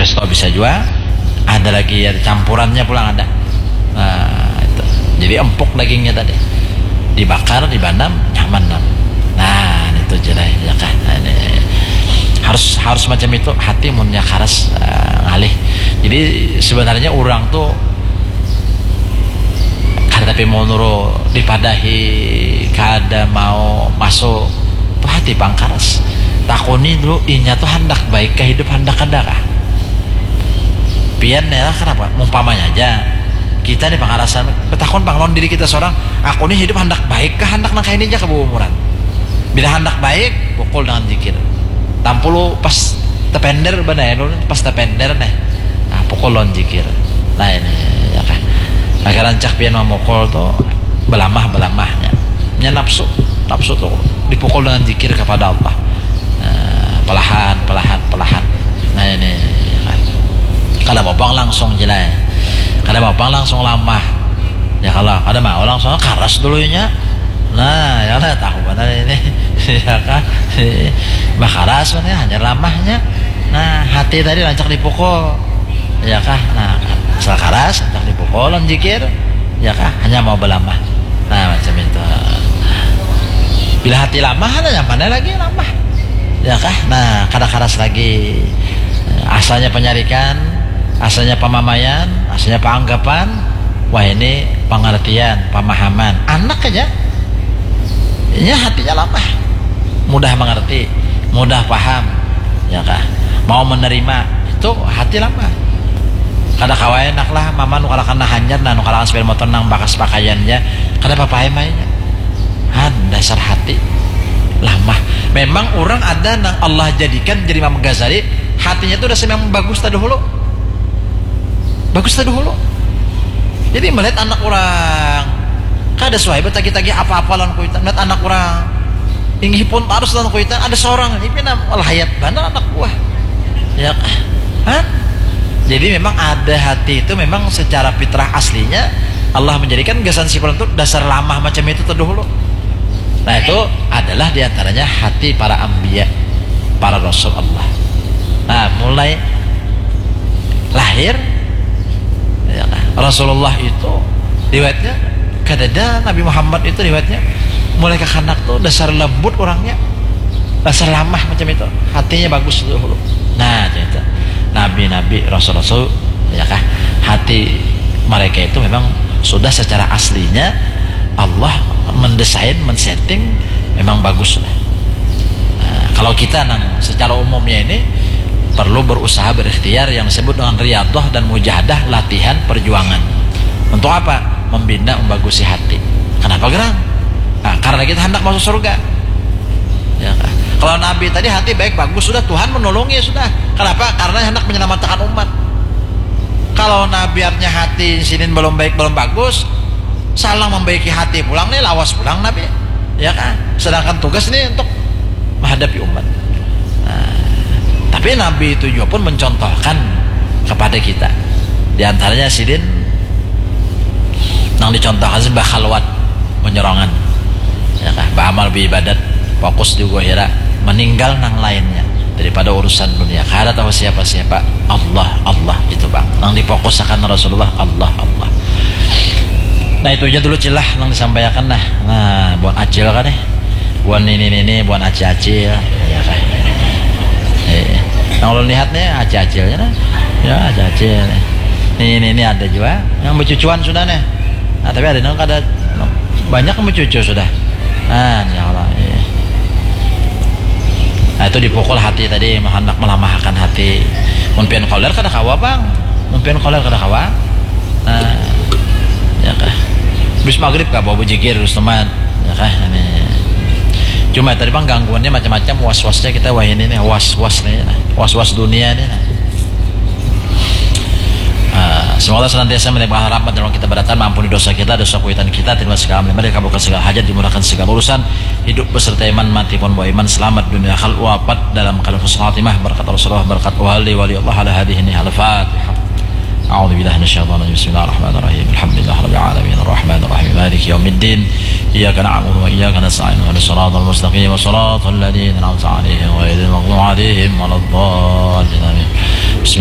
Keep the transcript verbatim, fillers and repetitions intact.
Resto bisa jua. Ada lagi, ada campurannya pulang ada. Nah, itu. Jadi empuk dagingnya tadi. Dibakar, dibanam, nyaman nam. Nah, itu je lah, ya kah? Nah, ini harus, harus macam itu hati munnya karas, eh, ngalih. Jadi sebenarnya orang tuh kada tapi mau nurut dipadahi, kada mau masuk. Tuh hati pang karas. Takuni dulu, inya tuh handak baik kah hidup, handak kada kah? Pian ya lah, kenapa? Mumpamanya aja, kita nih pangarasan, betakun pang lawan diri kita seorang, "Aku nih hidup handak baik kah, handak nang kaini aja ka umuran?" Bila handak baik, pukul dengan jikir. Tampulu pas tepender, bana ya, pas tepender nih. Nah, pukul lawan jikir. Nah, ini, ya kah? Nah, rancak pian mamukul tuh, belamah, belamahnya. Nya nafsu, nafsu tuh dipukul dengan jikir kepada Allah. Nah, pelahan, pelahan, pelahan. Nah, ini, ya kah? Kada mau pang langsung jelai. Kada mau pang langsung lamah. Ya kalau kada mau langsung karas dulunya. Nah, ya lah, tahu banar ini. Ya kah? Bah karas mana, hanya lamahnya. Nah, hati tadi rancak dipukul. Ya kah? Nah, asal karas, rancak dipukul lawan jikir. Ya kah? Hanya mau belamah. Nah, macam itu. Bila hati lamah, ada nyamannya lagi lamah. Ya kah? Nah, kada karas lagi. Asalnya penyarikan, asalnya pamamaian, asalnya panganggapan. Wah, ini pengertian, pemahaman. Anak aja. Nya hatinya lamah. Mudah mengerti, mudah paham. Ya kah? Mau menerima. Itu hati lamah. Kada kawa enak lah, mama nukarakan nah hanyar, nah nukarakan sepeda motor nang bakas pakaiannya. Kada apa-apa, emainya. Han, dasar hati lamah. Memang orang ada nang Allah jadikan jadi Imam Ghazali, hatinya tuh dasar memang bagus tadi dulu. Bagus tadi dulu. Jadi melihat anak orang, kada suai betagih-tagih apa-apa lawan kuitan. Melihat anak orang, inggih pun tarus lawan kuitan, ada seorang, ini pina lahayat banar anak buah. Ya kah? Hah? Jadi memang ada hati itu memang secara fitrah aslinya Allah menjadikan gasan si fulan itu dasar lamah macam itu terdahulu. Nah, itu adalah diantaranya hati para anbiya, para rasul Allah. Nah, mulai lahir, ya kan, Rasulullah itu riwayatnya, kadada Nabi Muhammad itu riwayatnya, mulai kakanak tuh dasar lembut orangnya, dasar lamah macam itu, hatinya bagus dahulu. Nah, itu nabi-nabi, rasul-rasul, ya kah, hati mereka itu memang sudah secara aslinya Allah mendesain, men-setting memang bagus sudah. Nah, kalau kita nang secara umumnya ini perlu berusaha, berikhtiar yang disebut dengan riadoh dan mujahadah, latihan, perjuangan. Untuk apa? Membina, membagusi hati. Kenapa gerang? Nah, karena kita hendak masuk surga. Ya kan? Kalau Nabi tadi hati baik bagus, sudah Tuhan menolongnya sudah. Kenapa? Karena hendak menyelamatkan umat. Kalau Nabi artinya hati sinin belum baik, belum bagus, salah membaiki hati pulang nih, lawas pulang Nabi. Ya kan? Sedangkan tugas nih untuk menghadapi umat. Nah, tapi Nabi itu juga pun mencontohkan kepada kita. Di antaranya sidin nang dicontohkan sih bakhalwat, menyerongan. Ya kan? Beramal, beribadat, fokus di gohira, meninggal nang lainnya daripada urusan dunia. Kada tahu siapa-siapa, Allah, Allah itu bang. Nang difokusakan Rasulullah, Allah, Allah. Nah, itu aja dulu cilah nang disampaikan nah. Nah, buat acil kan nih. Buat nini-nini, buat acil-acil. Ya kan? Eh, nang ulun lihat nih acil-acilnya nah. Ya, acil-acil nih. Nini-nini ada juga. Yang becucuan sudah nih. Nah, tapi ada nang kada, banyak yang becucu sudah. Nah, ya Allah. Iya. Nah, itu dipukul hati tadi, hendak melamahkan hati. Mun pian koler kada kawa, bang. Mun pian koler kada kawa. Nah, ya kah. Bis maghrib kah bawa bujigir terus teman. Ya kah, ini. Cuma tadi bang gangguannya macam-macam, was-wasnya kita wah ini nih, was-was nih, nah. Was-was dunia nih, nah. Ah, semoga senantiasa melimpahkan rahmat dalam kita berdatang, mengampuni dosa kita, dosa kuitan kita, terima segala amal ibadah, dikabulkan segala hajat, dimurahkan segala urusan, hidup beserta iman, mati pun bawa iman, selamat dunia akhirat, wafat dalam keadaan husnul khatimah, berkat Rasulullah, berkat wali, wali Allah, ala hadhihi nihal Fatihah. أعوذ بالله من الشيطان الرجيم. بسم الله الرحمن الرحيم. الحمد لله رب العالمين. الرحمن الرحيم. مالك يوم الدين. إياك نعبد وإياك نستعين. اهدنا الصراط المستقيم. صراط الذين أنعمت عليهم غير المغضوب عليهم ولا الضالين. آمين. بسم